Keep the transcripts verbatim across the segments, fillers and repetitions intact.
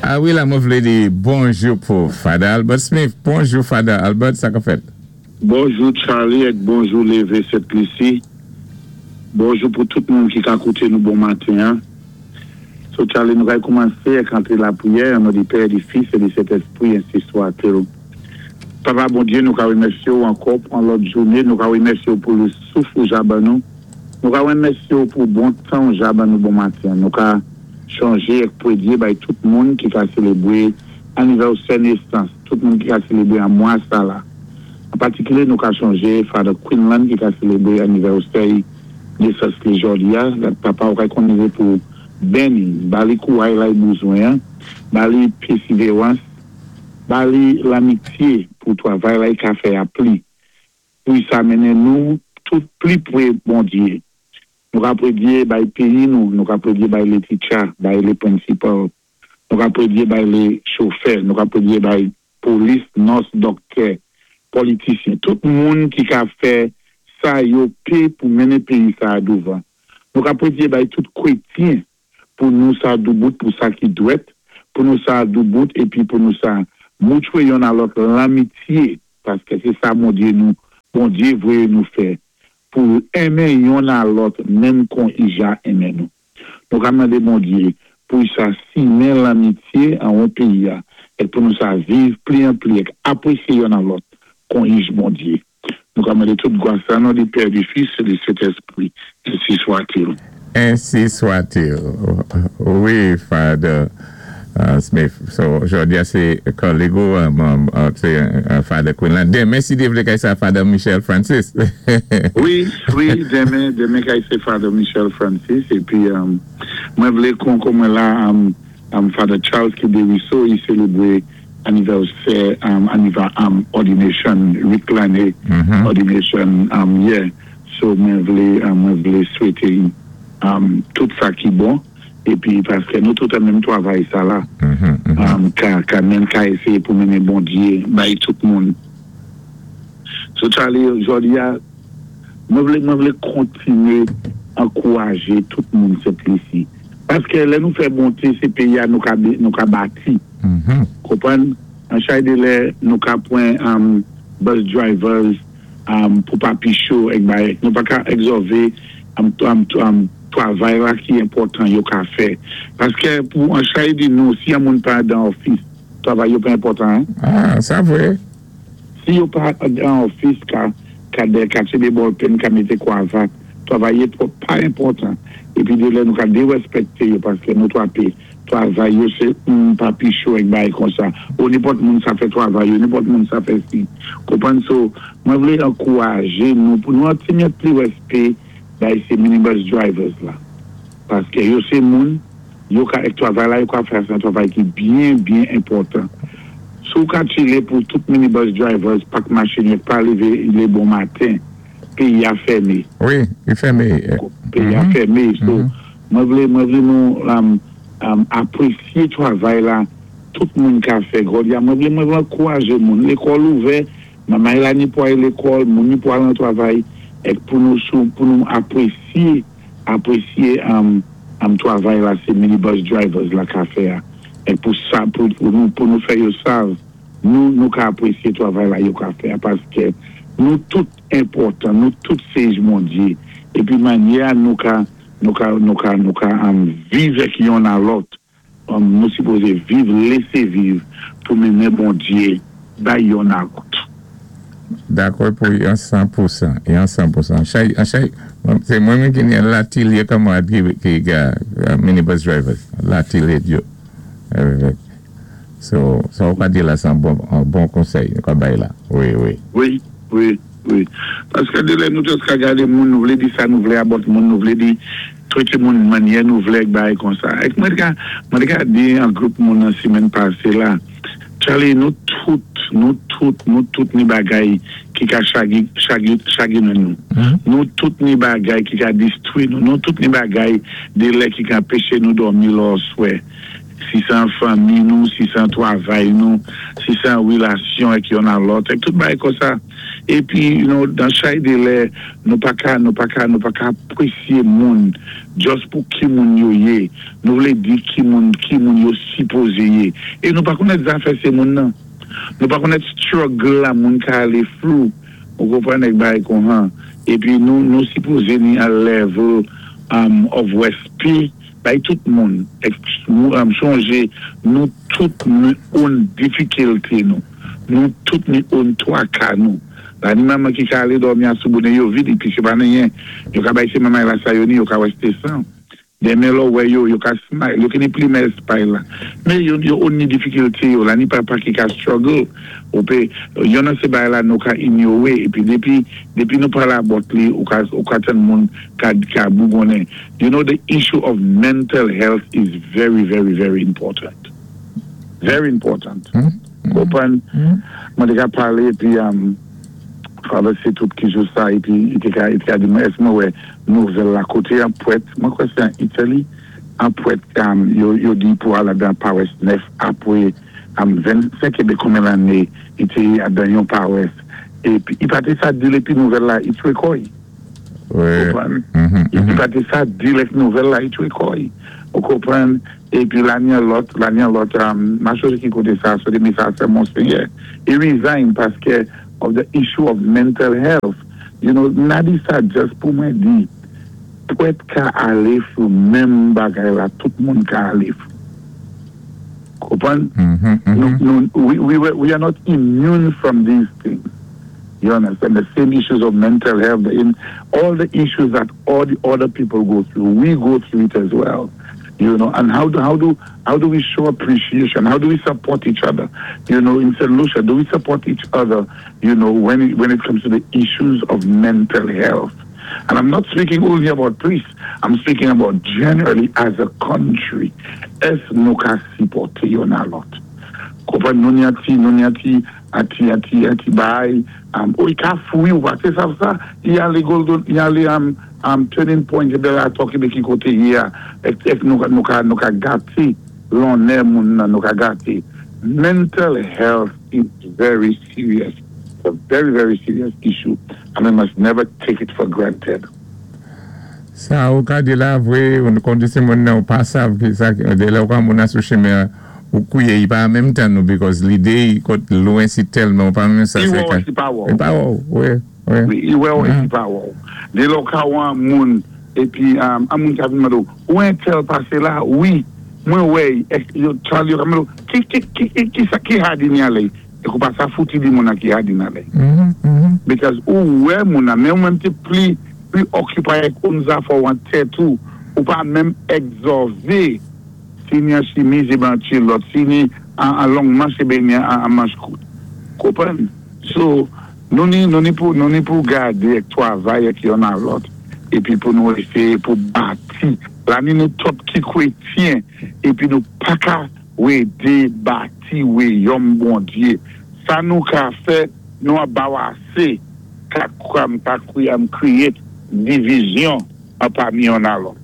Ah wi, la, mwen vlé di bonjou pou Father Albert Smith. Bonjou, Father Albert, sa ka fèt? Bonjou Charlie èk bonjou Lévé Sent-Lisi. Bonjou pou tout moun ki ka kouté nou bon maten. Hein. So Charlie, nou kay koumansé èk antré lapriyè an non di Pè, di Fis é di Sentèspwi, ensi swat-il. Papa Bondyé, nou ka wimèsyé ou ankò pou an lòt jouné, nou ka wimèsyé ou pou lé souf ou ja ban nou. Nou ka wimèsyé ou pou bon tan ou ja ban nou bon maten. Nou ka chonjé èk pwédyé bay tout moun ki ka sélébwé anivèsè nésans, tout moun ki ka sélébwé an mwa sa la. An patikilé, nou ka chonjé Father Quinlan ki ka sélébwé anivèsè nésans li jòdi a, papa ou kay konnivé pou béni, ba li kouway la i bouzwen, ba li pèsivéwans, ba li lamityé pou twavay la i ka fè a pli. Pou sa mennen nou tout pli pwé Bondyé. Nou ka pwédyé bay péyi nou, nou ka pwédyé bay lé teacher, bay lé principal, nou ka pwédyé bay lé chofè, nou ka pwédyé bay polis, nurse, dòktè, politisyen, tout moun ki ka fè sa yo pé pou mennen péyi sa a douvan. Nou ka pwédyé bay tout kwétyen pou nou sa doubout pou sa ki dwèt, pou nou sa doubout épi pou nou sa moutwé yonn a lòt lamityé, paské sé sa Bondyé nou, Bondyé vwé nou fè, pou enmen yonn a lòt menm kon i ja enmen nou. Nou ka mandé Bondyé pou sa simen lamityé an won péyi a, é pou nou sa viv pli an pli èk apwésyé yonn a lòt kon ij Bondyé. Nou ka mandé tout gwa sa non di Pè, di Fis é di Sentèspwi, ensi swat-il. Ensi swat-il. Wi, Father uh, Smith. So, jòdi a sé kòlèg ou, um, um, uh, sé uh, Father Quinlan. Denmen, si Dye vlé kay sa Father Michel Francis. Wi, wi, denmen, denmen kay sé Father Michel Francis épi um, mwen vlé kon kon mwen la um, um, Father Charles ki Deriso, i sélébwé anivèsè um, aniva um, ordination, uit lanné Mhm. ordination um, yeah. So mwen vlé um, mwen vlé swété um, tout sa ki bon épi paské nou tout an menm twavay sa la Mhm, mhm. um, ka, ka menm ka éséyé pou mennen Bondyé bay tout moun. So Charlie, jòdi a, mwen vlé, mwen vlé kontiné ankourajé tout moun Sent-Lisi. Paské lè nou fè bonté, sé péyi a nou ka, nou ka bati. Mhm. Konpwann? An chay de lè nou ka pwan um, bus drivers um, pou papicho èk bay. Nou pa ka egzòvé um, um, um, twavay la ki enpòtan yo ka fè. Paské pou an chay di nou, si yon moun pa dan ofis, twavay yo pa enpòtan, hein? Ah, sa vwé. Si yo pa dan ofis ka, ka de, ka tchébé ball pen, ka mété kwavat, twavay yo pa enpòtan. Épi de lè nou ka dérèspèkté yo paské nou twapé twavay yo sé un papicho èk bay kon sa. Ou nenpòt moun sa fè twavay yo, nenpòt moun sa fè si. Konpwann so, mwen vlé ankourajé nou pou nou an ti mèt pli wèspé bay sé minibus drivers la. Paské yo sé moun, yo ka èk twavay la, yo ka fè sé twavay ki byen, byen enpòtan. Sou ka tchilé pou tout minibus drivers pak machin yo pa lévé lé bon maten, péyi a fèmé. Wi, i fèmé. Péyi a Mhm. fèmé. So, Mhm. mwen vlé, mwen vlé nou um, um, apwésyé twavay la, tout moun ka fè jòdi a. Mwen vlé, mwen vlé ankourajé moun. Lékòl ouvè, manmay la ni pou al lékòl, moun ni pou al nan twavay, èk pou nou sou, pou nou apwésyé, apwésyé um, um, twavay la, sé minibus drivers la ka fè a. Èk pou sa, pou, pou nou, pou nou fè yo sav, nou, nou ka apwésyé twavay la yo ka fè a, paské nou tout enpòtan, nou tout sé ij Bondyé. Épi manyè nou ka, nou ka, nou ka, nou ka um, viv èk yonn a lòt, um, nou sipozé viv, lésé viv, pou mennen Bondyé bay yonn a lòt. Dakò pou yon san pou san. Yon san pou san. Chay, an chay, sé mwen menm ki ni latilye kanmarad ki, ki ga uh, minibus drivers. Latilye yo. Avec. So, sa ou ka di la, sé an bon, an bon konsèy, nou ka bay la. Wi, wi. Wi, wi, wi. Paské de lè nou tous ka gadé moun, nou vlé di sa nou vlé about moun, nou vlé di twété moun manyè nou vlé èk bay kon sa. Èk mwen ka, mwen ka di an gwoup moun an simèn pasé la, Charlie, nou tout, nou tout, nou tout ni bagay ki ka chagi, chagi, chaginen nou. Mhm. Nou tout ni bagay ki ka distwi nou, nou tout ni bagay de lè ki ka anpéché nou dòmi lò swè. Si sé an fanmi nou, si sé an twavay nou, si sé an wilasyon èk yonn a lòt, èk tout bagay konsa. Épi, you know, dan chay dé lè, nou pa ka, nou pa ka, nou pa ka apwésyé moun, just pou ki moun yo yé. Nou vlé di ki moun, ki moun yo sipozé yé. É nou pa konnèt zafè sé moun nan. Nou pa konnèt struggle la moun ka alé through. Ou konpwann èk bagay kon-han. Épi nou, nou sipozé ni a level um, of wèspé bay tout moun. Èk um, sonjé, nou tout ni own difikilté nou. Nou tout ni own twaka nou. La ni manman ki ka alé dòmi an sou bonnen yo vid, épi sé pa anyen. Yo ka bay sé manman la sa yo ni, yo ka wè san. Denmen lò wè yo, yo ka smile, yo ki ni pli mèl smile la. Men yo, yo own ni difikilté yo, la ni papa ki ka struggle. Ou pé, yon nan sé bagay la nou ka inyoré, épi dépi, dépi nou palé about li, ou ka, ou ka tann moun ka, ka bougonnen. You know, the issue of mental health is very, very, very important. Very important. Konpwann? Mwen té ka palé, épi, um, Father sé tout ki jou sa, épi, i té ka, i té ka di mwen, èsk mwen wè nouvèl la koté an pwèt, mwen kwè sé an Italy, an pwèt, um, yo, yo di pou al dan pawès nèf apwé, um, vennsenk ébé konbyen lanné, i té dan yon pawès, épi, i pa té sa di épi nouvèl la, i twé kò-y. Wi. Konpwann? Mhm, I pa té sa di lè nouvèl la, i twé kò-y. Ou konpwann? Épi la ni an lòt, la ni an lòt, um, ma chòz ki koté sa, so de mi sa sé monseyè. I resign paské of the issue of mental health. You know, na di sa just pou mwen di, pwèt ka alé through menm bagay la, tout moun ka alé through. Konpwann? Mhm, mhm. Nou, nou, we, we, we are not immune from these things. You understand? The same issues of mental health, the in, all the issues that all the other people go through, we go through it as well. You know, and how do how do how do we show appreciation? How do we support each other? You know, in Saint Lucia, do we support each other? You know, when it, when it comes to the issues of mental health. And I'm not speaking only about priests. I'm speaking about generally as a country. Èsk nou ka sipòté yonn a lòt? Konpwann nou ni an ti, nou ni an ti, an ti, an ti, an ti bay, um, ou i ka fouy ou pa, sé sa sa, i alé Golden, i alé um, um, Turning Point, ébé la tok ébé ki koté yi a, èk, èk nou ka, nou ka, nou ka gaté lonnè moun nan, nou ka gaté. Mental health is very serious. It's a very, very serious issue, and we must never take it for granted. Sa ou ka di la vwé, ou kondisi moun nan ou pa sav ki sa, de la ou ka moun nan sou chemen ou kouye, i pa an menm tan nou, because lidé i kot lwen si telman, ou pa menm sa I se wè ou ka. si pa wè. I pa wè, wè, wè. Wi, i wè ou si pa wè. Dé lò ka wè an moun, épi um, an moun ka vin mande ou, ou entèl pasé la, wi, mwen wè, ek, yo, Charlie, yo ka mande ou, ki, ki, ki, ki, ki sa, ki had ni alé? E kou pa sa fouti di moun nan ki had ni alé. Mhm, mhm. Because ou wè moun nan, men ou menm té pli, pli occupy ak own zafè ou an tèt ou, ou pa menm egzòvé si ni an chimiz é an kilòt, si ni an, an long manch é ni an, an manch kout. Konpwann? So, nou ni, nou ni pou, nou ni pou gadé ak twavay ak yonn a lòt, épi pou nou éséyé pou bati. La ni nou twòp ki kwétyen, épi nou pa ka wédé bati wéyòm Bondyé. Sa nou ka fè, nou a bawasé ka kwam, ka kwiyam create divizyon an pami yonn a lòt.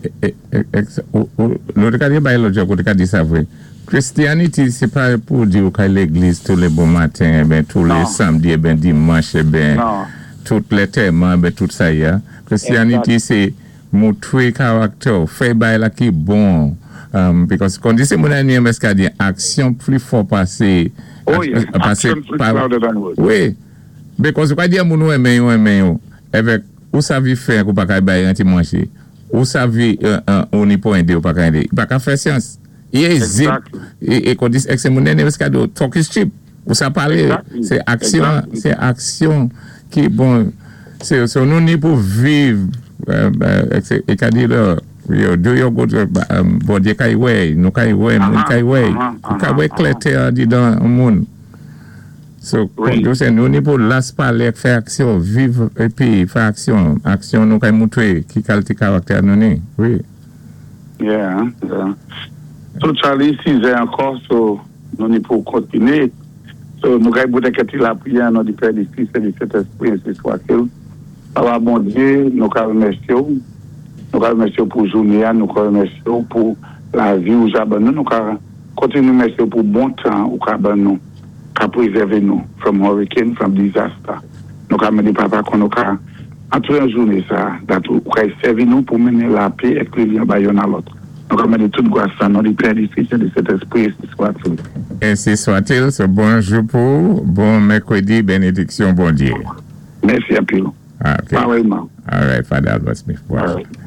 E, e, e, ou, ou, nou te ka di bay lòt jòk, ou te ka di sa vwé. Christianity, sé pa pou di ou kay légliz tou lé bon maten, eh ben, tou lé Non. samdi, eh ben, dimanch, eh ben, Non. tout lé tèman, eh ben, tout sa ya. Christianity, Exact. sé moutwé karaktè, fè bay la ki bon. Um, because kondi sé moun an yon ka di aksyon pli fò pasé Oh yeah, pasé action speaks pa- louder than words. Wi, because ou ka di a moun ou enmen yo enmen yo, evèk ou savi fè kou pa ka bay an ti manché, ou savi uh, uh, ou ni pou ende ou pa ka ende, pa ka fè syans. I e zip, Exactly. e, e kondi ek se moun ene ka do talk is cheap. Ou sa pale, Exactly. sé aksyon, Exactly. sé aksyon ki bon, sé, so nou ni pou viv, euh, euh, ek se, e ka di lè, yo, do your good, um, Bondyé kay wè, nou kay wè, moun Aha, kay wè, aha, ou ka aha, wè aha. klèté an di dan moun. So, Wi. kon se nou ni pou las pale ek fè aksyon, viv épi fè aksyon, aksyon nou kay moutwé ki kalté karaktè nou ni, wi. Yeah, yeah. So Charlie, sizè ankò, so nou ni pou kontiné. So nou kay bout kèk ti lapriyè an non di Pè, di Fis é di Sentèspwi, ensi swa-t-il. Papa Bondyé, nou ka remèsyé ou. Nou ka remèsyé ou pou jouné, nou ka remèsyé ou pou Lavi ou sa ban nou, nou ka kontiné mèsyé pou bon tan ou ka ban nou, ka pwézèvé nou from hurricane, from disaster. Nou ka mandé papa kon nou ka antré an jouné sa, dat ou ka sèvi nou pou mennen lapè èk lilyon bay youn a lòt. Nou ka mandé tout gwas an non di Pè, di Fis, di Sentèspwi, ensi swat-il. Ensi swat-il, so bonjou pou, bon mèkwédi, bénédiksyon Bondyé. Mèsi anpil. Ah, ok. Parèyman. All right, Father Albert Smith. All Bonjou. right.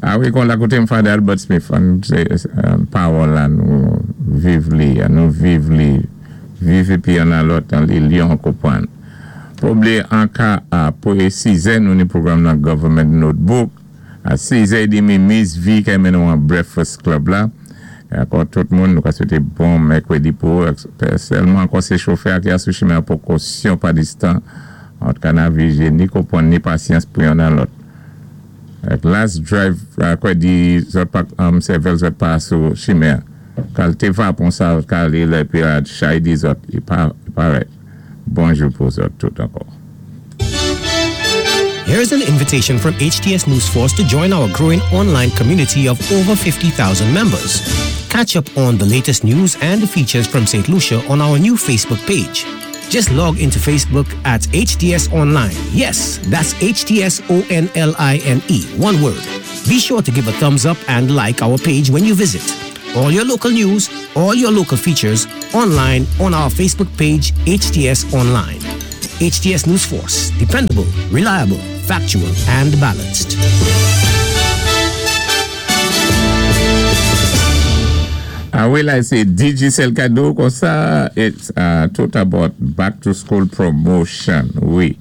Ah wi, kon la koté Father Albert Smith, an, sé, euh, pawòl la, nou viv li, nou viv li, viv épi youn a lòt an lilyon konpwann. Pa blié an ka a pou sizè nou ni pwogram nan Government Notebook, a sizè édmi Miss V ka mennen nou an Breakfast Club la. Ankò tout moun, nou ka swété bon mèkwédi pou, sèlman ankò sé chofè ki a sou chimen pou kosyon pa distan, an ka navigé ni konpwann ni pasyans pou youn a lòt. Ek last drive, kwa di zòt pa, um, sèvèl zòt pa sou chimen. Kalité vapon sa ka li lè pi a chay di zòt, i pa, i pa right. Bonjou pou zòt tout ankò. Here's an invitation from HTS News Force to join our growing online community of over fifty thousand members. Catch up on the latest news and features from Saint Lucia on our new Facebook page. Just log into Facebook at H T S Online. Yes, that's H T S O N L I N E, one word. Be sure to give a thumbs up and like our page when you visit. All your local news, all your local features, online on our Facebook page, H T S Online. H T S News Force, dependable, reliable, factual, and balanced. Ah wi, la, sé Digicel kado kon sa, it's uh, tout about back to school promotion, wi.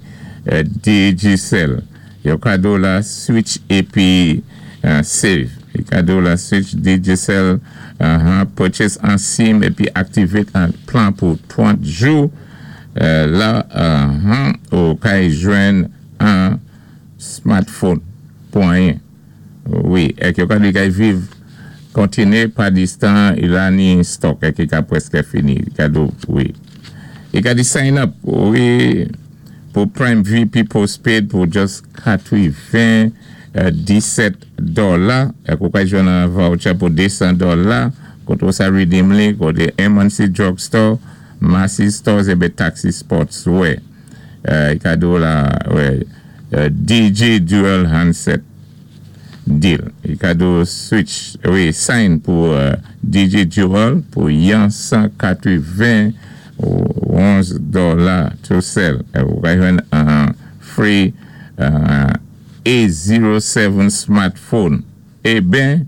Uh, Digicel, yo kado la switch épi uh, save. Yo kado la switch Digicel, uh, purchase an SIM épi activate an plan pou trant jou. Uh, la, uh, ou kay jwenn an smartphone pou anyen. Wi, èk yo ka di kay viv kontiné pa distan, i la ni stock èk i ka pwèské fini. Kado, wi. I ka di sign up, wi, pou Prime V P postpaid pou just katwéven disèt dola. Èk ou ka jwenn an voucher pou de san dola. Koté ou sa redeem li, koté M and C Drugstore, Massy Stores ébi Taxi Sportswear. Uh, i kado la, wè, uh, D J Dual Handset deal. I kado switch, wi, sign pou uh, D J Dual pou yon san katwéven onz dola to sell. Ou ka jwenn an free uh, A zéro sèt smartphone. Eh ben,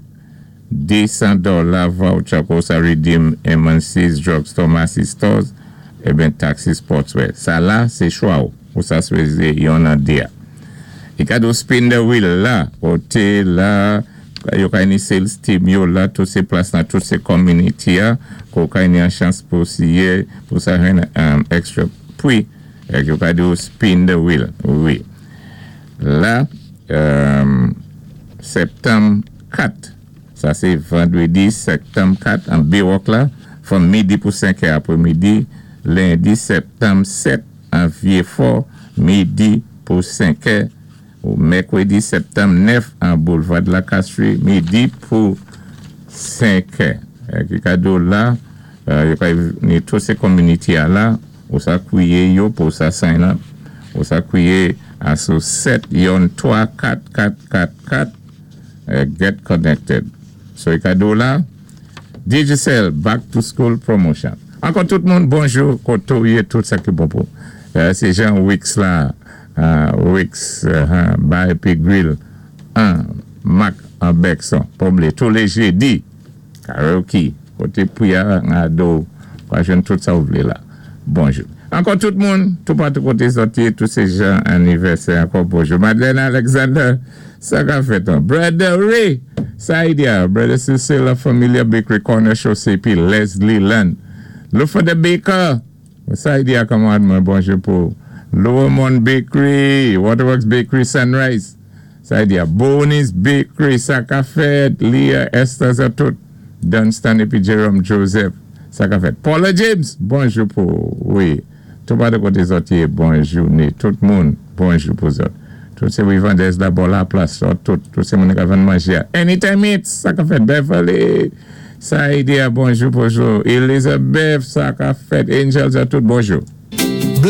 de san dola voucher pou sa redeem M and C's Drugstore, Massy Stores, eh ben Taxi Sportswear. Sa la, sé chwa ou. Ou sa swézé yon an déa. I kado spin the wheel la, koté la, yo kay ni sales team yo la, tout sé plas nan tout sé community ya, ko kay ni an chans pou siye, pou sa jwenn um, extra pwi, èk yo kado spin the wheel, wi. La, um, septanm kat, sa sé vandwédi septanm kat, an Bay-Walk la, from midi pou senk apwé midi, lendi septanm sèt, an Vieux-Fort, midi pou senk, ou mèkwédi septanm nèf, an Boulevard la Castrie, midi pou senk. Ki kado la, yo kay ni tout sé community a la, ou sa kwiyé yo pou sa sign up, ou sa kwiyé a sou sèt yon twa kat kat kat kat, get connected. So i kado la, Digicel Back to School Promotion. Ankò tout moun, bonjou, koto yé tout sa ki bon pou. Sé Jean Wicks la, Wicks, Bar épi Grill, an, Mac an Bekson, pa blié, tous les jeudis, karaoke, koté pou ya an do, kwa jwenn tout sa ou vlé la. Bonjou. Ankò tout moun, tout patou koté sòti, tout sé jan anivèsè, ankò bonjou. Madeleine Alexander, sa ka fèt an. Brother Ray, Saidia, Brother Cecilia Familia Bakery Corner Show C P, Leslie Land. Lufa the Baker, Saidia kamad mwen, bonjou pou. Lower Mount Bakery, Waterworks Bakery, Sunrise. Saidia, Bonnie's Bakery, sa ka fèt, Leah, Esther, sa tout. Dunstan épi Jerome Joseph, sa ka fèt. Paula James, bonjou pou, wi. Tout pa de koté sòti, bonjou ni. Tout moun, bonjou pou zòt. Tout sé vendès la bò la plas, tout, tout sé moun ka vann manjé. Anytime It's, sa ka fèt Beverly, Saïdia, bonjou, bonjou. Elizabeth, sa ka fèt. Angels, tout bonjou.